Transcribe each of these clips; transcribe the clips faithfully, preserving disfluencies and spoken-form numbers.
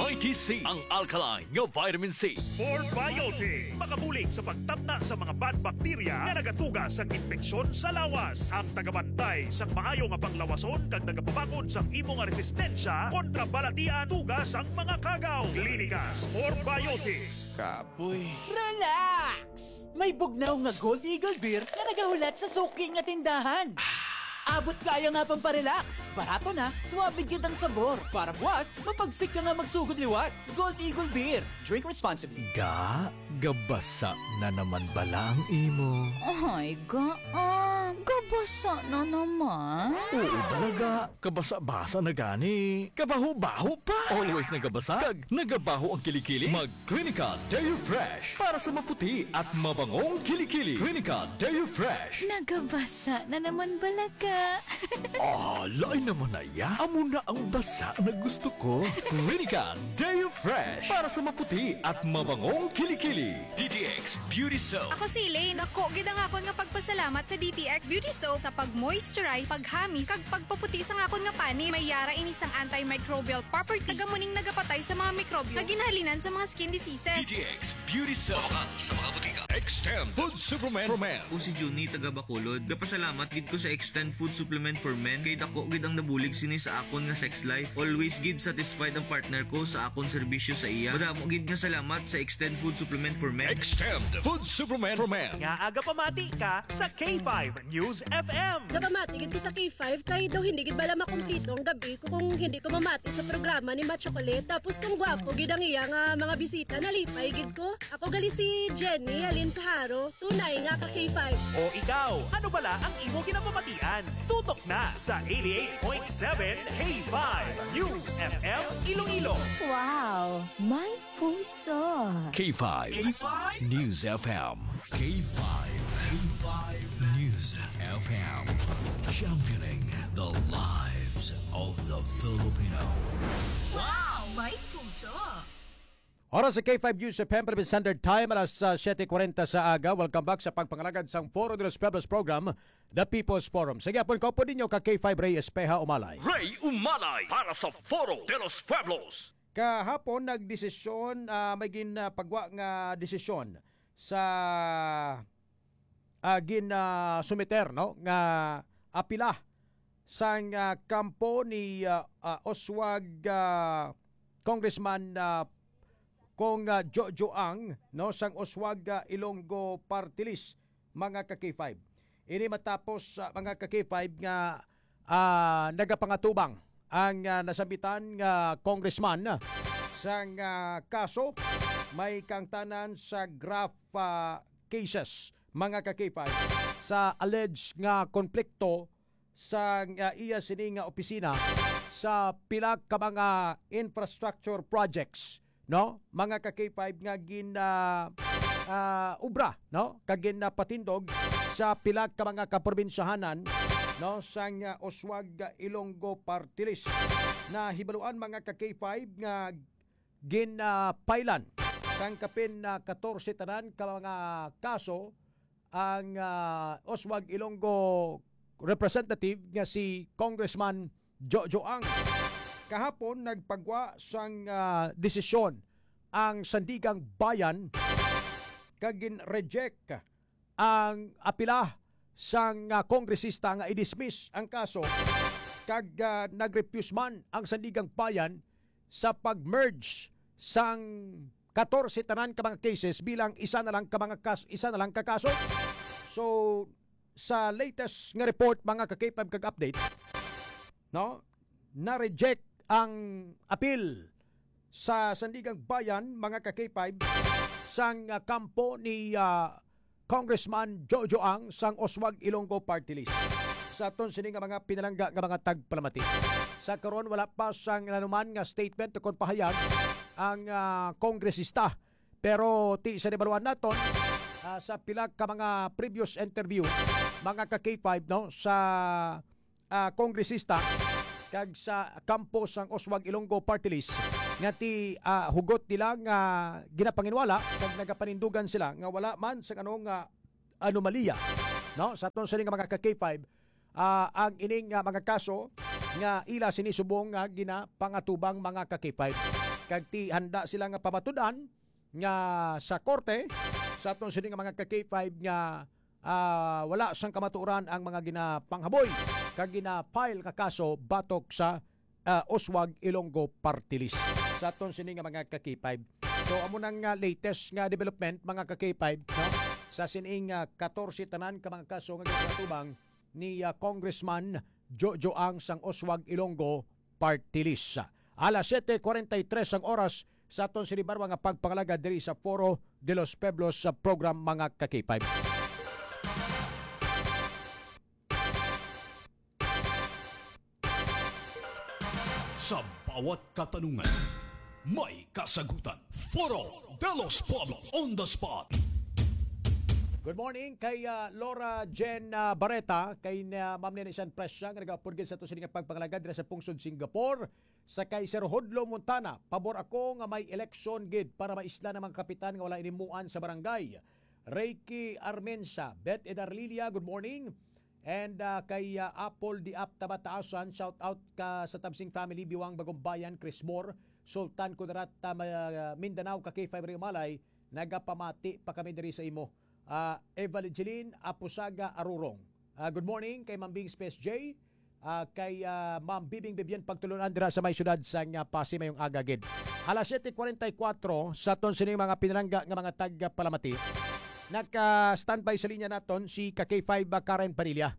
Mighty C, ang alkaline nga vitamin C. Spore Biotics, makabulig sa pagtamna sa mga bad bacteria nga nagatuga sa impeksyon sa lawas. Ang tagabantay sa maayo nga panglawason kag nagapabakod sa imo nga resistensya kontra balatian tuga sang mga kagaw. Klinika Spore Biotics. Kapoy. Relax! May bugnaw nga Gold Eagle Beer nga nagahulat sa suki nga tindahan. Abot kaya nga pamparelax. Barato na, suabe gid ang sabor. Para buwas, mapagsik ka nga magsugod liwat. Gold Eagle Beer. Drink responsibly. Ga, gabasa na naman bala ang imo? Ay, ga, ah, gabasa na naman. Oo, talaga. Kabasa-basa na gani. Kabaho-baho pa. Always nagabasa. Kag nagabaho ang kilikili. Mag Clinica Deo Fresh para sa maputi at mabangong kilikili. Clinica Deo Fresh. Nagabasa na naman bala ka. Ah, lain naman na ya. Amo na ang basa na gusto ko. Clinica Deo Fresh para sa maputi at mabangong kilikili. D T X Beauty Soap. Ako si Elaine. Dako gid ang akon nga pagpasalamat sa D T X Beauty Soap sa pag-moisturize, paghamis, kag pagpaputi sang akon nga panit. May yara ini sang antimicrobial property. Taga muning nagapatay sa mga mikrobyo nga ginahalinan sa mga skin diseases. D T X Beauty Soap. Mabakan sa mga butika. Extend Food Supplement for Men. Ako si Junie, taga Bacolod. Gapasalamat gid ko sa Extend Food Supplement for Men kay dako gid ang nabulig sini sa akon nga sex life. Always gid satisfied ang partner ko sa akon serbisyo sa iya. Madamo gid nga salamat sa Extend Food Supplement for Men. Extend Food Supplement for Men. Nga aga pamati ka sa K five News F M. Gapamati gid ko sa K five kay daw hindi gid bala makumpleto ang gabi ko kung hindi ko mamati sa programa ni Ma Chocolate. Tapos kung gwapo gid ang iya nga mga bisita, nalipay gid ko. Ako gali si Jenny, halin sa Jaro, tunay nga ka K five. O ikaw, ano bala ang imo ginapamatian? Tutok na sa eighty-eight point seven K five News F M Iloilo. Wow, may puso. K five K five News F M. K five, K five News F M. Championing the lives of the Filipino. Wow, may puso. Oras sa K five News F M, Philippine Standard Time, alas, ah, siyete kwarenta sa aga. Welcome back sa pagpangalagad sang Foro de los Pueblos program, The People's Forum. Sige, apon, kaupo ninyo ka K five Ray Espeha Umalay. Ray Umalay para sa Foro de los Pueblos. Kahapon, nagdesisyon, ah, may gin, ah, pagwa nga desisyon sa, ah, gin, ah, sumiter, no, nga apila sang, ah, kampo ni, ah, ah, Oswag, ah, Congressman, ah, Cong, ah, Jojo Ang, no, sang Oswag, ah, Ilonggo Party List, mga ka K five. Ini matapos, ah, mga ka K five, nga, ah, nagapangatubang ang, ah, nasambitan nga congressman sang, ah, kaso may kaangtanan sa graft, ah, cases, mga ka K five, sa alleged nga konflikto sa, ah, iya sini nga opisina sa pila ka mga infrastructure projects, no, mga ka K five, nga gin, ah, ah, ubra, no, kag ginapatindog sa pila ka mga kaprobinsyahanan, no, sang, ah, Oswag, ah, Ilonggo Party List. Nahibaluan, mga ka K five, nga gin, ah, pailan sang kapin, ah, katorse tanan ka mga kaso ang, ah, Oswag Ilonggo representative nga si Congressman Jojo Ang. Kahapon, nagpagwa sang, ah, desisyon ang Sandigang Bayan kag gin-reject ang apila sang, ah, kongresista nga i-dismiss ang kaso, kag, ah, nag-refuse man ang Sandigang Bayan sa pag-merge sang katorse tanan ka mga cases bilang isa na lang ka mga kas-, isa na lang ka kaso. So, sa latest nga report, mga ka-K five kag update, no, na-reject ang apil sa Sandigang Bayan, mga ka-K five, sang, ah, kampo ni, ah, Congressman Jojo Ang sang Oswag Ilonggo Party List. Sa aton sini nga mga pinalangga nga mga tagpalamati, sa karon wala pa sang nanuman nga statement o kon pahayag ang, ah, kongresista. Pero ti sa nahibaluan naton, ah, sa pila ka mga previous interview, mga ka-K five, no, sa ah, kongresista kag sa kampo sang Oswag Ilonggo Party List nga ti, ah, hugot nila nga ginapanginwala kag nagapanindugan sila nga wala man sang ano nga anomalya, no, sa aton sini nga mga ka-K five, ah, ang ining, ah, mga kaso nga ila sini subong nga ginapangatubang, mga ka-K five. kag ti handa sila nga pamatud-an nga sa korte sa aton sini nga mga ka-K five nga, ah, wala sang kamatuoran ang mga ginapanghaboy kag gina-file nga kaso batok sa, ah, Oswag Ilonggo Party List sa aton sini nga mga ka-K five. So, amo nang, ah, latest nga development, mga ka-K five, no? Sa sining, ah, katorse tanan ka mga kaso nga ginatubang ni, ah, Congressman Jojo Ang sang Oswag Ilonggo Party List. Alas siyete kuwarenta y tres ang oras sa aton sinibarwa nga pagpangalagad diri sa Foro de los Pueblos sa program, mga ka-K five. Sa bawat katanungan, may kasagutan. Foro de los Pueblos on the spot. Good morning kay, ah, Laura Jen, ah, Barreta, kay na Ma'am Nene San Presya nga nagapurgid sa ato sini nga pagpangalagad dira sa pungsod Singapore. Sa kay Sir Hudlo Montana, pabor ako nga may election gid para maisla ang mga kapitan nga wala inimuan sa barangay. Reiki Armensa, Beth Edarlilia, good morning. And, ah, kay, ah, Apple Diap Tabataasan, shout out ka sa Tabsing family, Biwang Bagumbayan, Chris Moore, Sultan Kudarat, ah, Ma-, Mindanao, ka K five Ray Umalay, nagapamati pa kami diri sa imo. Ah, Evangeline Apusaga Arurong. Ah, good morning kay Ma'am Bing Space J, ah, kay, ah, Ma'am Bibing Bibian Pagtulunan dira sa may siyudad sang, ah, Passi, mayong aga gid. Alas siyete kuwarenta y kuwatro sa aton sini mga pinalangga nga mga tagpalamati. Naka-standby sa linya naton si ka K five, ah, Karen Padilla.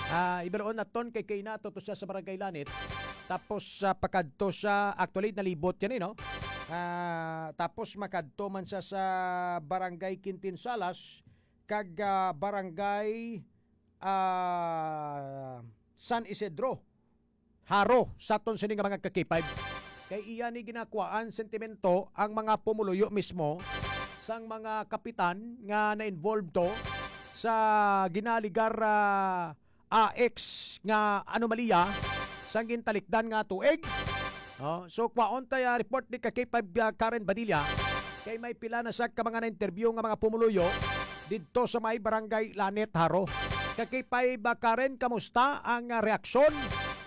Ah, ibaluon naton kay kay nato to siya sa Barangay Lanit. Tapos, ah, pakadto sa, actually, nalibot yan eh, no? Ah, tapos makadto man siya sa Barangay Quintinsalas kag, ah, Barangay, ah, San Isidro. Jaro, sa aton sini nga mga ka-K five. Kay iya ni ginakuhaan sentimento ang mga pumuluyo mismo sang mga kapitan nga na-involved to sa ginaligar, ah, A X nga anomalya sang gintalikdan nga tuig. Oh, so, kwaon tay, ah, report ni ka K five, ah, Karen Badilla. Kay may pila na siya ka mga na-interview nga mga pumuluyo didto sa may Barangay Lanit, Jaro. Ka K five, ah, Karen, kamusta ang, ah, reaksyon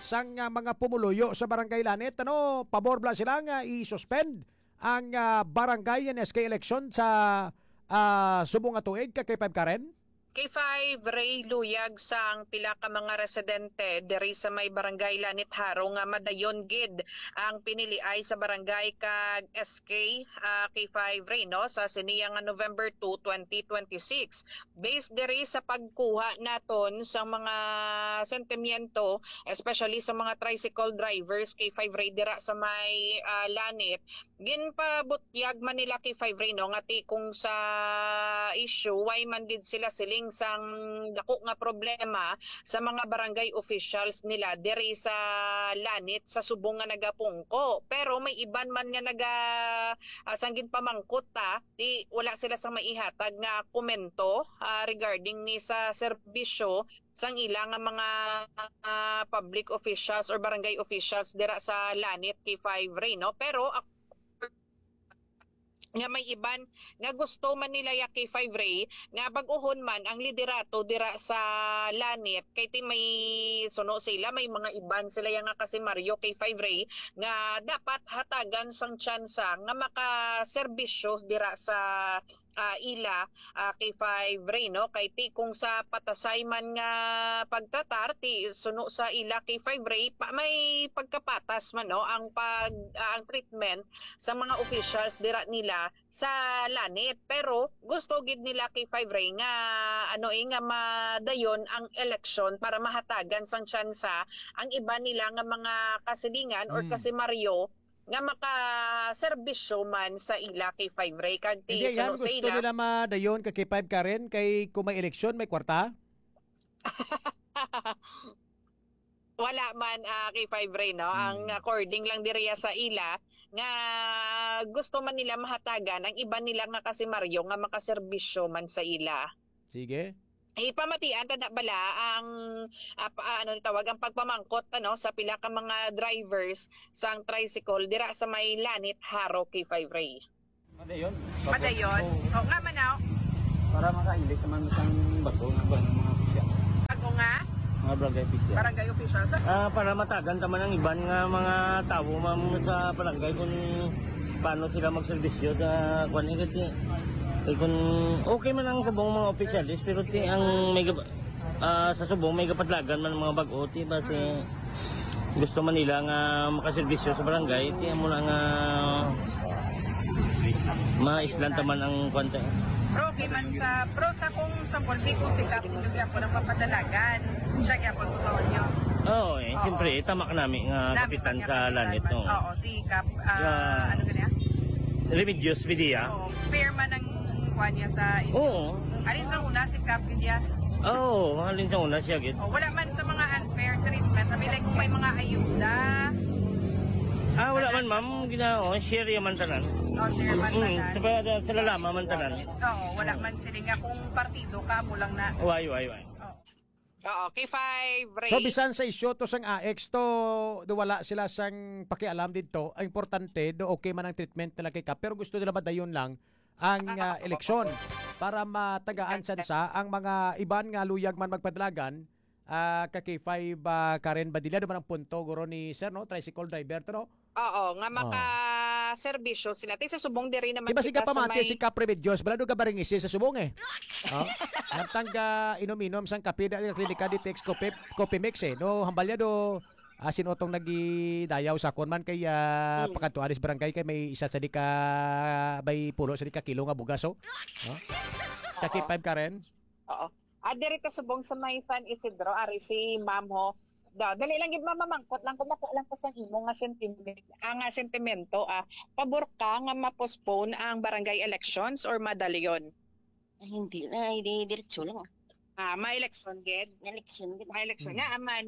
sang, ah, mga pumuluyo sa Barangay Lanit? Ano, pabor bala sila nga i-suspend ang, ah, barangay N S K election sa, ah, subong nga tuig, ka K five, Karen? K five, Ray, luyag sang pila ka mga residente diri sa may Barangay Lanit, Jaro nga madayon gid ang piniliay sa barangay kag S K, ah, K five, Ray, no, sa siniya nga November two, twenty twenty-six. Based diri sa pagkuha naton sa mga sentimiento, especially sa mga tricycle drivers, K five, Ray, dira sa may, ah, Lanit, ginpabutyag man nila K five, Ray, no, nga ti kung sa issue, why man gid sila siling sang dako nga problema sa mga barangay officials nila diri sa Lanit sa subong nga nagapungko. Pero may iban man nga naga, ah, sang ginpamangkot ta, di wala sila sang maihatag nga komento, ah, regarding ni sa serbisyo sang ila nga mga, ah, public officials or barangay officials dira sa Lanit, K five, Ray, no? Pero ak-, nga may iban nga gusto man nila ya K five, Ray, nga bag-uhon man ang liderato dira sa Lanit, kay ti may suno sila, may mga iban sila ya nga kasimaryo, K five, Ray, nga dapat hatagan sang tsansa nga makaserbisyo dira sa, ah, ila, ah, K five, Ray, no? Kay ti kung sa patasay man nga pagtratar, ti suno sa ila K five, Ray, pa, may pagkapatas man, no, ang pag, ah, ang treatment sa mga officials dira nila sa Lanit. Pero gusto gid nila K five, Ray, nga ano, eh, nga madayon ang eleksyon para mahatagan sang tsansa ang iba nila nga mga kasilingan or Mm. kasimaryo nga makaserbisyo man sa ila, K five, Ray. Kag ti Hindi, yan, suno sa gusto ila nila madayon ka K five, Karen, kay kung may eleksyon, may kwarta? Wala man, ah, K five, Ray, no? Ang Mm. according lang diriya sa ila, nga gusto man nila mahatagan ang iba nila nga kasimaryo nga makaserbisyo man sa ila. Sige. Ipamatian ta na bala ang, ah, pa, ano ni tawag, ang pagpamangkot, ano, sa pila ka mga drivers sang tricycle dira sa may Lanit, Jaro, K five, Ray. Madayon. Madayon? Oo. O, nga man, ah. Para makailis naman sang bato nga ba ng mga pisya. Bago nga? Mga barangay pisya. Barangay officials. Ah, para matagan ta man ang iban nga mga tawo, ma'am, sa barangay kung Paano sila magserbisyo sa kuan, eh, kasi, eh, kung okay man ang subong mga opisyalis, pero ti ang may gab-, ah, sa subong may gapadlagan man ang mga bag-o, ti ba si gusto man nila nga makaserbisyo sa barangay, ti amo na nga maislan ta man ang kuan ta. Pero okay man sa, pero sa kung sa Volvico, si Kap Indo gyapon ang papadalagan. Siya gyapon ang tao niyo. Oo, eh, Oo. Siyempre, tama ka nami nga Nami kapitan ka sa kapitan lanit, man. Oo, si Kap, ah, Nga ano ka niya? Remedios Vidya. Oo, fair man ang kuha niya sa inyo. Oo. Alin sa una, si Kap Vidya? Oo, alin sa una siya, gid. Oh, wala man sa mga unfair treatment. Sabi, like, kung may mga ayuda. Ah, wala man, ma'am. Gina-, oh, share man tanan. Oh, share man Mm, tanan. sa, sa lalama man tanan. Oo, wala man sila nga kung partido ka, mo lang na. Why, why, why? Oo. Oo, K five, Ray. So, bisan sa isyu to sang A X to, do wala sila sang pakialam didto. Ang importante, do okay man ang treatment nila kay Kap, pero gusto nila madayon lang ang, ah, eleksyon para matagaan tsansa ang mga iban nga luyag man magpadalagan, ah, ka K five, ah, Karen Badilla, naman ang punto, guro ni Sir, no? Tricycle driver to, no? Oo, nga Oh. makaserbisyo sila. Tay, sa subong diri naman Di ba si kita sa Kapamati, may si Kap Remedios, balado ka baringisi sa subong eh. Oh? Nagtangga inom-inom sang kape dahil klinika di text coffee, coffee mix eh. No, hambal niya do, ah, sin-o tong nagidayaw sa akon man kay, ah, Hmm. pakadto aris barangay kay may isa sa di ka, may pulo sa di ka kilo nga bugas, oh. Oh? Kaki Oo. five ka rin? Oo. Ah, diri ta subong sa may San Isidro, ari si Ma'am ho. Da, dali lang gid, ma'am, mamangkot lang kung matuo lang ko sa imo nga sentiment, ah, nga sentimento, ah. Pabor ka nga ma-postpone ang barangay elections or madalion? Ay, hindi na, hindi, diretso lang, ah. Ah, may election gid? May election gid. May election Hmm. nga, aman.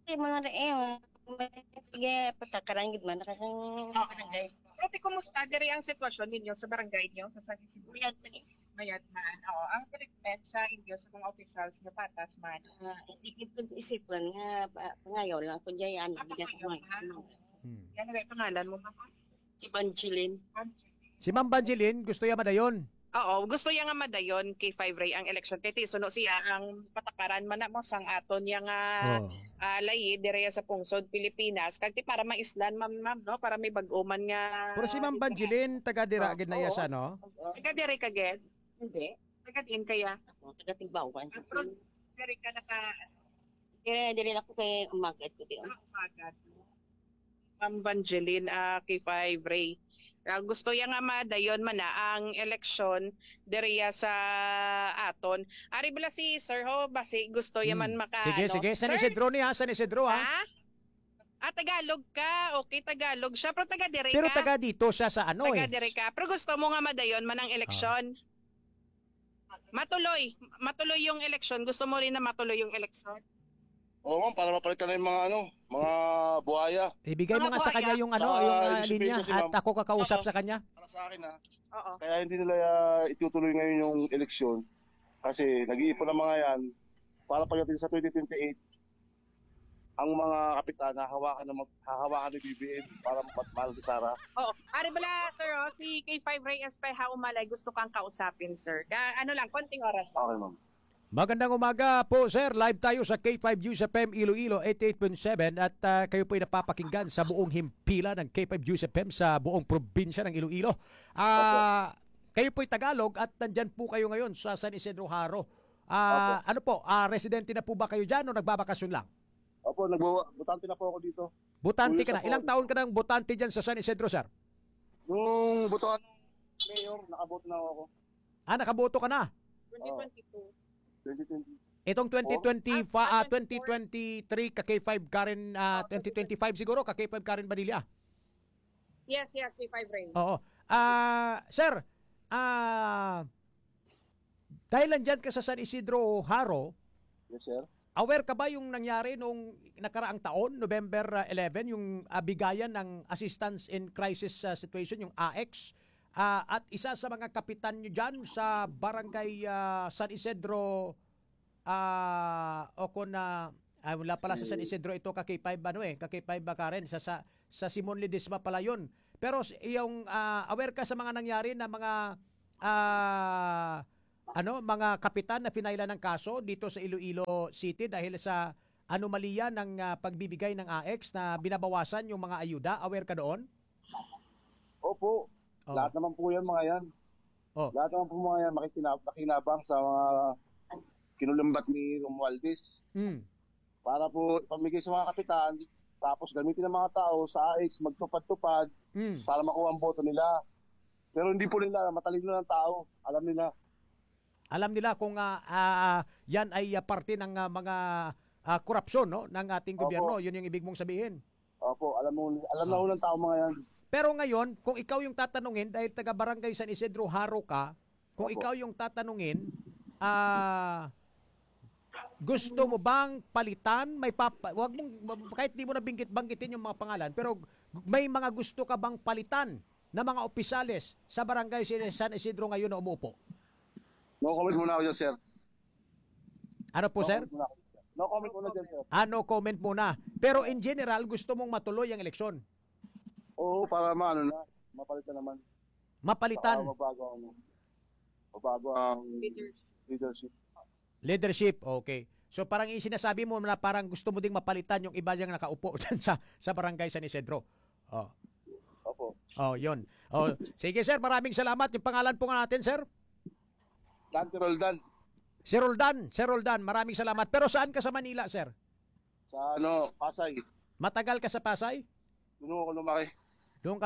Di mo na, eh, oh, sige, patakaran gid man, kasi Oo. barangay. Pero ti, kumusta diri ang sitwasyon ninyo sa barangay niyo, sa San Isidro? Mayad lagi. Mayad man. Oo, ang treatment sa inyo sa mga officials niyo patas man. Ah, hindi gid ko isipon nga pa-, pangayaw lang ko diyan, Ah, bigyan ko pangayaw man. ka? Hmm. Yan ang pangalan mo, ma'am? Si Banjilin. Banjilin. Si Ma'am Banjilin, gusto niya madayon. Oo, gusto niya nga madayon kay Five Ray ang eleksyon. Kay ti suno siya ang patakaran man na mo sang aton niya nga, Oo. ah, layi diri sa pungsod Pilipinas. Kag ti para maislan, ma'am, ma'am, no? Para may bag-o man nga Pero si Ma'am Banjilin, taga dira Oo, gid na iya oo. siya, no? Oo. Taga diri ka gid? Hindi. Taga diin kaya? Ako, taga Tigbauan. Ah, pero diri ka naka- Diri, diri lang ko kay umagat ko diyon. Ah, umagat. Ma'am Vangeline, ah, K five Ray. Ah, gusto ya nga madayon man na ang eleksyon diriya sa aton. Ari bala si Sir ho, basi gusto ya Hmm. man maka, Sige, ano. sige. San Sir? Isidro ni, ha? San Isidro, ha? Ha? Ah, Tagalog ka. Okay, Tagalog siya. Pero taga dire Pero ka. taga dito siya sa ano, Taga eh. dire ka. Pero gusto mo nga madayon man ang Ah. eleksyon? Matuloy. Matuloy yung eleksyon. Gusto mo rin na matuloy yung eleksyon? Oo, ma'am, para mapalitan na yung mga, ano, mga buhaya. Ibigay mo Mga nga sa kanya buhaya. yung, ano, Sa yung, ah, ibig sabihin linya kasi, at ma'am, ako kakausap Oo. sa kanya. Para sa akin, ah, Oo. kaya hindi nila, ah, itutuloy ngayon yung eleksyon. Kasi nag-iipon ang mga yan para pagdating sa twenty twenty-eight, ang mga kapitan hahawakan ng mag-, hahawakan ni B B M para mapatmahal si Sara. Oo. Ari bala, sir, oh, si K five Ray Espeja Umalay, gusto kang kausapin, sir. Ka-, ano lang, konting oras lang. Okay, ma'am. Magandang umaga po, sir. Live tayo sa K five News F M Iloilo, eighty-eight point seven, at, ah, kayo po'y napapakinggan sa buong himpilan ng K five News F M sa buong probinsya ng Iloilo. Ah, Opo. Kayo po'y Tagalog at nandyan po kayo ngayon sa San Isidro Jaro. Ah, Opo. ano po, ah, residente na po ba kayo dyan o nagbabakasyon lang? Opo, nagbawa-, botante na po ako dito. Botante Two years ka na. na po. Ilang taon ka nang botante dyan sa San Isidro, sir? Nung botohan ng mayor, nakaboto na ako. Ah, nakaboto ka na? Twenty twenty-two. Oo. Twenty twenty. Itong twenty twenty-five, Ah, ah, twenty twenty-four. twenty twenty-three ka K five Karen, ah, Oh, twenty twenty-five siguro ka K five Karen Badilla. Yes, yes, K five Ray. Oo. Ah, sir, ah, dahil nandyan ka sa San Isidro Jaro, Yes, sir. aware ka ba yung nangyari nung nakaraang taon, November, ah, eleven, yung, ah, bigayan ng assistance in crisis, ah, situation, yung A X? Ah, at isa sa mga kapitan nyo dyan sa barangay, ah, San Isidro, ah, o kung, ah, ah, wala pala sa San Isidro ito, ka K five, ano eh, ka K five ba, Karen? Sa, sa, sa Simon Ledesma pala yun. Pero s-, yung, ah, aware ka sa mga nangyari na mga, ah, ano, mga kapitan na finailan ng kaso dito sa Iloilo City dahil sa anomalya ng, ah, pagbibigay ng A X na binabawasan yung mga ayuda? Aware ka doon? po. Oh. Lahat naman po yan, mga yan. Oh. Lahat naman po, mga yan, makikina- makinabang sa mga kinulambat ni Romualdez. Mm. Para po ipamigay sa mga kapitan, tapos gamitin ng mga tao sa A X, magtupad-tupad, Mm. para makuha ang boto nila. Pero hindi po nila, matalino ng tao. Alam nila. Alam nila kung, ah, ah, yan ay, ah, parte ng, ah, mga, ah, korupsyon, no, ng ating Opo. gobyerno. Yun yung ibig mong sabihin. Opo, alam mo, alam na Ah. ho ng tao mga yan. Pero ngayon, kung ikaw yung tatanungin, dahil taga Barangay San Isidro Jaro ka, kung Opo. ikaw yung tatanungin, ah, gusto mo bang palitan? May papa, wag mong, kahit di mo na binggit, banggitin yung mga pangalan, pero may mga gusto ka bang palitan na mga opisyales sa Barangay San Isidro ngayon na umuupo? No comment muna ako dyan, sir. Ano po, No sir? comment muna ako dyan. No comment muna dyan, sir. Ah, no comment muna. Pero in general, gusto mong matuloy ang eleksyon? Oo, para maano na, mapalitan naman. Mapalitan? Para mabago ang, mabago ang Leadership. leadership. Leadership, okay. So parang yung sinasabi mo na parang gusto mo ding mapalitan yung iba diyang nakaupo dyan sa, sa Barangay San Isidro. Oh. Opo. Oh, yun. Oh, sige sir, maraming salamat. Yung pangalan po nga natin, sir? Dan, si Roldan. Si Roldan, Sir Roldan, maraming salamat. Pero saan ka sa Manila, sir? Sa ano, Pasay. Matagal ka sa Pasay? Doon ako lumaki. Doon ka